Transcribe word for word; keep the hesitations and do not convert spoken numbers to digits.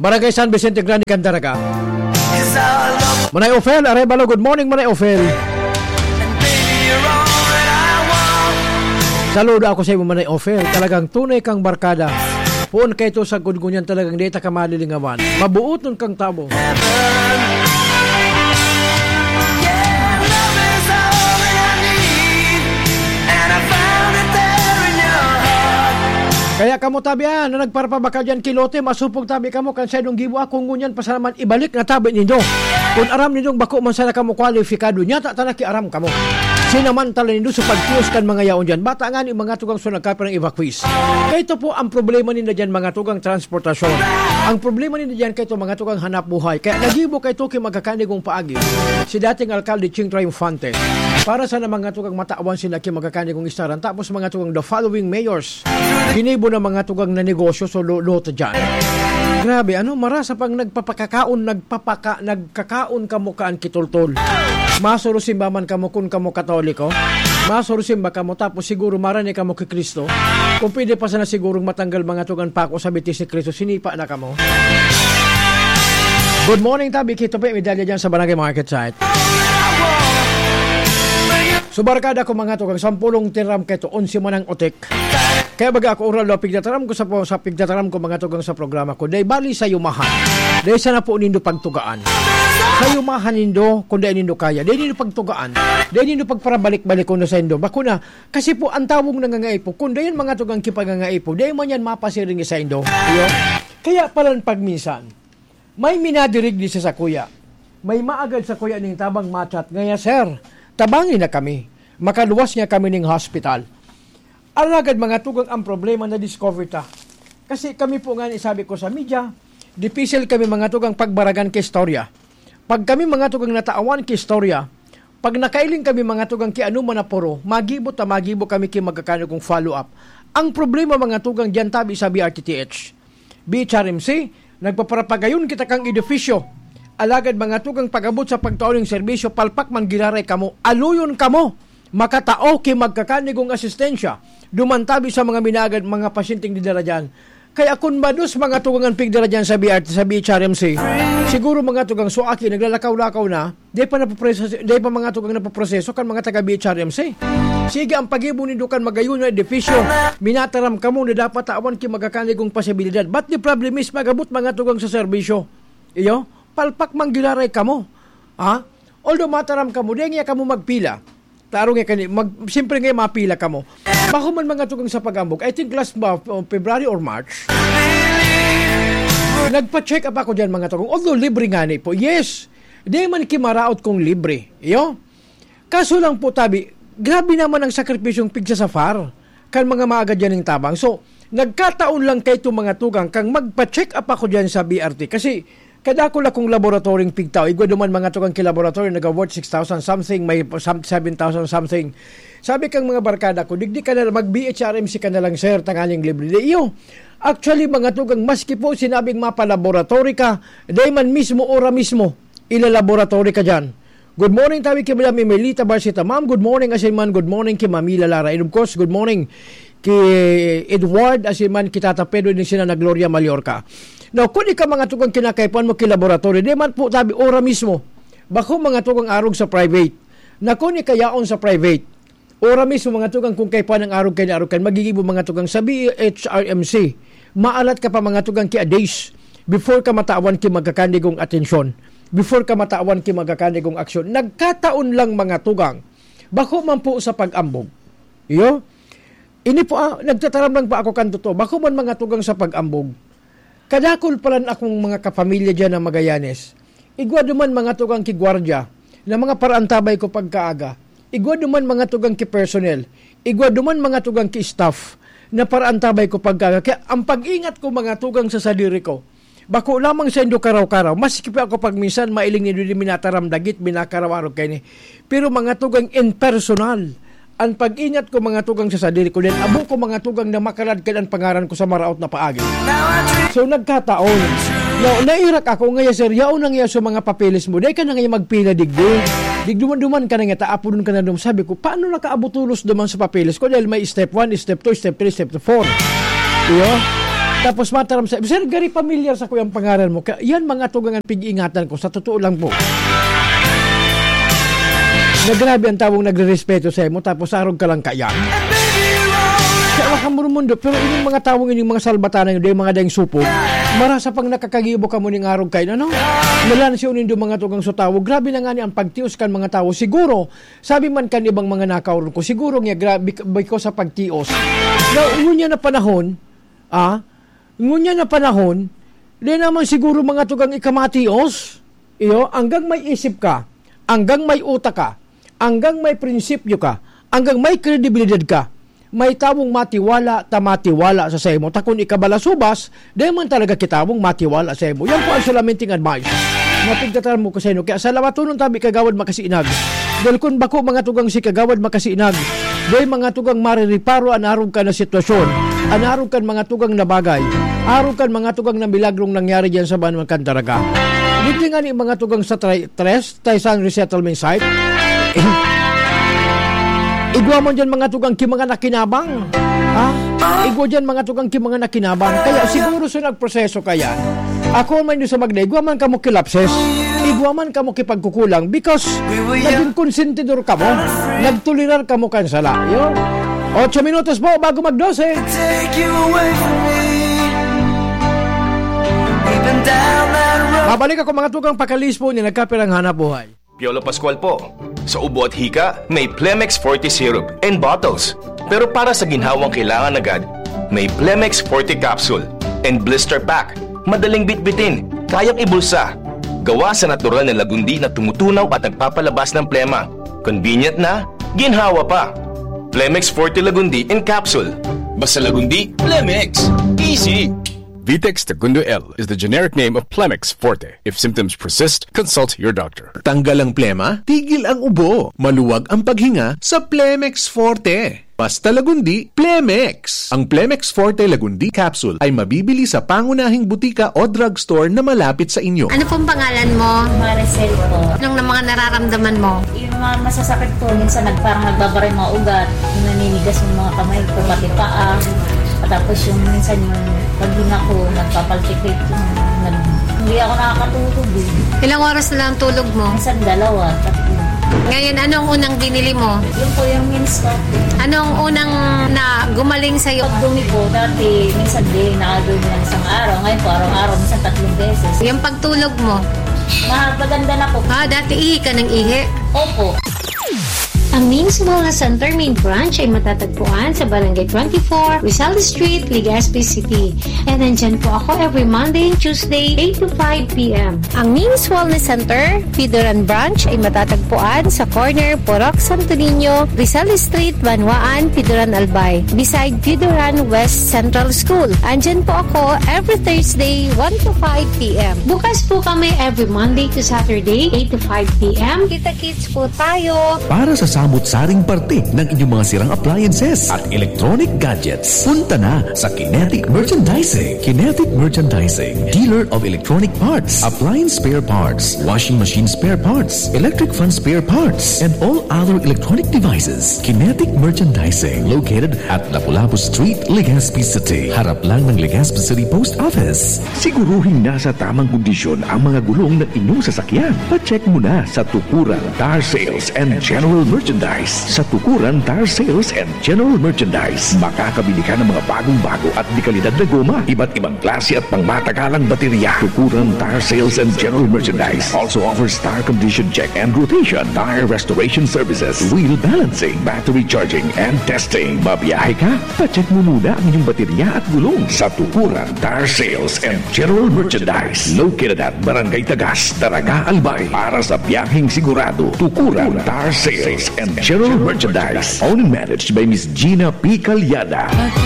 Barangay San Vicente Grande, Candaraga. Manay Ofel, Arevalo, good morning, Manay Ofel. Saludo ako sa imo, Manay Ofel. Talagang tunay kang barkada. Poon kaito sa gudgunyan, talagang di ta ka malilingawan. Mabuoton kang tabo. Kaya kamo tabi, ah, na nagparapabakal diyan ki Lote, masupog tabi kamo kan saindong gibo, ah, kung ngunyan pa sana man ibalik na tabi nindo. Kun aram nindong bako man sana kamo kwalipikado, nyata ta nakiaram kamo. Sinamantala nindo sa pagtios kan mga yaon diyan. Bata ngani, mga tugang, so nagkapirang evacuees. Kaito po ang problema ninda diyan, mga tugang, transportasyon. Ang problema ninda diyan, kaito, mga tugang, hanap buhay. Kaya nagibo kaito ki magkakanigong paagi si dating alkalde Ching Triunfante. Para sana, mga tugang, matawan sila ki magkakanigong istaran. Tapos, mga tugang, the following mayors, ginibo na, mga tugang, na negosyo, so lo-, lote dyan. Grabe, ano, marasa pang nagpapakakaon, nagpapaka-, nagkakaon kamo kaan ki toltol. Masurusimba man kamo kun kamo Katoliko. Masurusimba kamo, tapos siguro marani kamo ki Cristo. Kung pwede pa sana sigurong matanggal, mga tugang, pako sa bitis ni Cristo, sinipa na kamo. Good morning, tabi, kito pa, medalya dyan sa Barangay Market Site. So, barkada ko, mga tugang, sampulong tinaram kaito, onse man ang utik. Kaya baga ako oral daw, pigtataram ko sa po-, sa pigtataram ko, mga tugang, sa programa ko. Dai bali sa yumahan. Dai sana po nindo pagtugaan. Sa yumahan nindo, kung dai nindo kaya. Dai nindo pagtugaan. Dai nindo pagparabalik-balik kung sa indo. Bako na, kasi po, ang tawong nangangaipo, kung dai yan, mga tugang, kipagangaipo, dai man yan mapasiring sa indo. Iyo? Kaya palan pag minsan, may minadirigdi sa sakuya. May maagad sakuya ning tabang machat ngaya, "Sir, tabangi na kami. Makaluwas nga kami ning hospital." Alagad, mga tugang, ang problema na-discover ta. Kasi kami po nga, sabi ko sa media, dipisil kami, mga tugang, pagbaragan ki istorya. Pag kami, mga tugang, natawan ki istorya, pag nakailing kami, mga tugang, ki ano man na puro, magibo ta, magibo kami ki magkakanigong follow-up. Ang problema, mga tugang, diyan tabi sa B R T T H. B H R M C, nagpaparapagayon kita kang edifisyo. Alagad, mga tugang, pag-abot sa pagtao ning serbisyo, palpak man giraray kamo, aluyon kamo makatao ki magkakanigong asistensya. Duman tabi sa mga minagad, mga pasyenteng didara diyan. Kaya kun mados, mga tugang, an pigdara diyan sa B R T, sa B H R M C, siguro, mga tugang, so aki, naglalakaw-lakaw na, Dai pa napoproseso, dai pa, mga tugang, napoproseso kan mga taga B H R M C. Sige, ang paggibo nindo kan magayon na edifisyo, minataram kamo na dapat tawan ki magkakanigong posibilidad. But the problem is, mag-abot, mga tugang, sa serbisyo. Iyo, palpak man giraray kamo. Ha? Although mataram kamo, dai nga kamo magpila. Taro nga kani, mag-, siyempre nga mapila kamo. Bako man, mga tugang, sa pag-ambog. I think last ba, uh, February or March, nagpa-check up ako diyan, mga tugang. Although libre ngani po. Yes, Di man ki maraot kung libre, iyo. Kaso lang po, tabi, grabe naman ang sakripisyong pigsasafar kan mga maagad diyan ning tabang. So, nagkataon lang kaito, mga tugang, kang magpa-check up ako diyan sa B R T. Kasi kadakul akong laboratoryong pigtao. Igwa duman, mga tugang, ki laboratory, naga-worth six thousand something, may sam-, seven thousand something. Sabi kang mga barkada ko, "Digdi ka na, mag-B H R M C ka na lang, sir, tanganing libre." Di, iyo. Actually, mga tugang, maski po sinabing mapa-laboratory ka, dai man mismo, ora mismo, ilalaboratory ka diyan. Good morning, tabi ki Madam Emelita Barcita. Ma'am, good morning, asin man, good morning ki Mami Lalara. And of course, good morning ki Edward, asin man ki Tata Pedro, din sina na Gloria Mallorca. Now, kun ika, mga tugang, kinakaipuhan mo ki laboratory, di man po tabi, ora mismo. Bako, mga tugang, arog sa private. Na kun ika yaon sa private, Ora mismo, mga tugang, kung kaipuhan ang arog kaini, arog kaini, magigibo, mga tugang, sa B H R M C. Maalat ka pa, mga tugang, ki a days before ka matawan ki magkakanigong atensyon, before ka matawan ki magkakanigong aksyon. Nagkataon lang, mga tugang, bako man po sa pag-ambog. Iyo? Ini po, ah, nagtataram lang pa ako kan totoo. Bako man, mga tugang, sa pag-ambog. Kadakul palan akong mga kapamilya diyan na Magallanes. Igwa duman, mga tugang, ki gwardiya na mga paraantabay ko pagkaaga. Igwa duman, mga tugang, ki personnel. Igwa duman, mga tugang, ki staff na paraantabay ko pagkaaga. Kaya ang pag-ingat ko, mga tugang, sa sadiri ko, bako lamang saindo karaw-karaw. Maski pa ako pag minsan mailing nindo di minataram dagit, minakaraw-arog kaini. Pero, mga tugang, in personal, ang pag-ingat ko, mga tugang, sa sadiri ko, then abo ko, mga tugang, na makaladkad ang pangaran ko sa maraot na paagi. So, nagkataon. Now, nairak ako, ngaya, "Sir, yaon na ngaya sa mga papeles mo. Dai ka na ngaya magpila digdi." Digduman-duman ka na ngaya, ta apodon ka na dum-, sabi ko, "Paano nakaabot tolos duman sa papeles ko?" Dahil may step one, step two, step three, step four. Iyo? Tapos mataram sa, "Sir, gari pamilyar sa kuyang pangaran mo." Kaya yan, mga tugang, ang pig-iingatan ko. Sa totoo lang po. Na grabe ang tawong nagre-respeto sa imo, tapos arog ka lang kaya. Kaya wala kang murumundo, pero ining mga tawong ining mga salbatana yun, dahil mga daing supog, marasa pang nakakagibo ka mo ning arog kayo, ano? Nalansi nindo mga tugang sa tawo. Grabe na nga ni ang pagtios kan mga tawo. Siguro, sabi man kan ibang mga nakaoron ko, siguro nga grabe, because sa pagtios. Na, ngunyan na panahon, ah, ngunyan na panahon, di naman siguro mga tugang ikamatios. Iyo, hanggang may isip ka, hanggang may utak ka, hanggang may prinsipyo ka, hanggang may kredibilidad ka, may tawong matiwala ta matiwala sa saimo. Ta kun ika balasubas, di man talaga kitawong matiwala saimo. Yan po ang solamente nga advice na pigtataram mo ko sa inyo. Kaya salawatonon tabi, Kagawad Makasinag. Dahil kun bako mga tugang si Kagawad Makasinag, di mga tugang maririparo an arog ka na sitwasyon, an arog kan mga tugang na bagay, arog kan mga tugang na milagrong nangyari diyan sa banwa kan Daraga. Digdi nga ni mga tugang sa tri-, tres, Taysan resettlement site. Igwa man dyan mga tugang ki mga nakinabang. Ha? Igwa dyan mga tugang ki mga nakinabang. Kaya siguro sa nagproseso kaya, ako man yung sa magda, igwa man kamo ki lapses. Igwa man kamo ki pagkukulang because naging konsentidor kamo. Nagtolerar kamo kan sala. Yun. Ocho minutos po bago mag-dose. Take you away from me. We've been down that road. Mabalik ako mga tugang pakalis po ni nagkapirang hanap buhay. Piolo Pascual po. Sa ubo at hika, may Plemex Forte Syrup and bottles. Pero para sa ginhawang kailangan agad, may Plemex Forte Capsule and Blister Pack. Madaling bitbitin, kayang ibulsa. Gawa sa natural na lagundi na tumutunaw at nagpapalabas ng plema. Convenient na, ginhawa pa. Plemex Forte Lagundi in Capsule. Basta Lagundi, Plemex. Easy. Vitex Segundo L is the generic name of Plemex Forte. If symptoms persist, consult your doctor. Tanggal ang plema, tigil ang ubo. Maluwag ang paghinga sa Plemex Forte. Basta Lagundi, Plemex. Ang Plemex Forte Lagundi Capsule ay mabibili sa pangunahing butika o drugstore na malapit sa inyo. Ano pong pangalan mo? Maricel po. Anong na mga nararamdaman mo? Yung mga masasakit po, minsan nag-, parang nagbabaray mga ugat, yung naninigas yung mga kamay ko, pati paa. Tapos yung minsan yung paghinga ko, nagpapalpitate yung nag-, hindi ako nakakatulog eh. Ilang oras na lang ang tulog mo? Minsan dalawa, tatlo. Ngayon, anong unang binili mo? Yun po yung Minsko. Anong unang na gumaling sa'yo? Pag dumi po, dati minsan di, nakadumi ng isang araw. Ngayon po, araw-araw, minsan tatlong beses. Yung pagtulog mo? Ma-, maganda na po. Ah, dati ihi ka ng ihi? Opo. Ang Ming's Wellness Center main branch ay matatagpuan sa Barangay twenty-four, Rizal Street, Legazpi City. And nandyan po ako every Monday and Tuesday, eight to five p m. Ang Ming's Wellness Center, Pidoran Branch, ay matatagpuan sa corner Purok Santo Niño, Rizal Street, Banwaan, Pidoran, Albay, beside Pidoran West Central School. Andyan po ako every Thursday, one to five p m. Bukas po kami every Monday to Saturday, eight to five p m. Kita-kits po tayo. Para sa samot-saring parte ng inyong mga sirang appliances at electronic gadgets, punta na sa Kinetic Merchandising. Kinetic Merchandising, dealer of electronic parts, appliance spare parts, washing machine spare parts, electric fan spare parts, and all other electronic devices. Kinetic Merchandising, located at Lapu-Lapu Street, Legazpi City. Harap lang ng Legazpi City Post Office. Siguruhing nasa tamang kondisyon ang mga gulong ng inyong sasakyan. Pa-check muna sa Tukuran Tire Sales and General Merchandise. Sa Tukuran Tire Sales and General Merchandise, makakabili ka ng mga bagong-bago at dekalidad na goma, iba't ibang klase at pangmatagalang baterya. Tukuran Tire Sales and General Merchandise also offers tire condition check and rotation, tire restoration services, wheel balancing, battery charging, and testing. Mabiyahe ka? Pa-check mo muna ang inyong baterya at gulong sa Tukuran Tire Sales and General Merchandise, located at Barangay Tagas, Daraga, Albay. Para sa biyaheng sigurado, Tukuran Tire Sales and General Merchandise. Owned and managed by Miss Gina P. Calyada.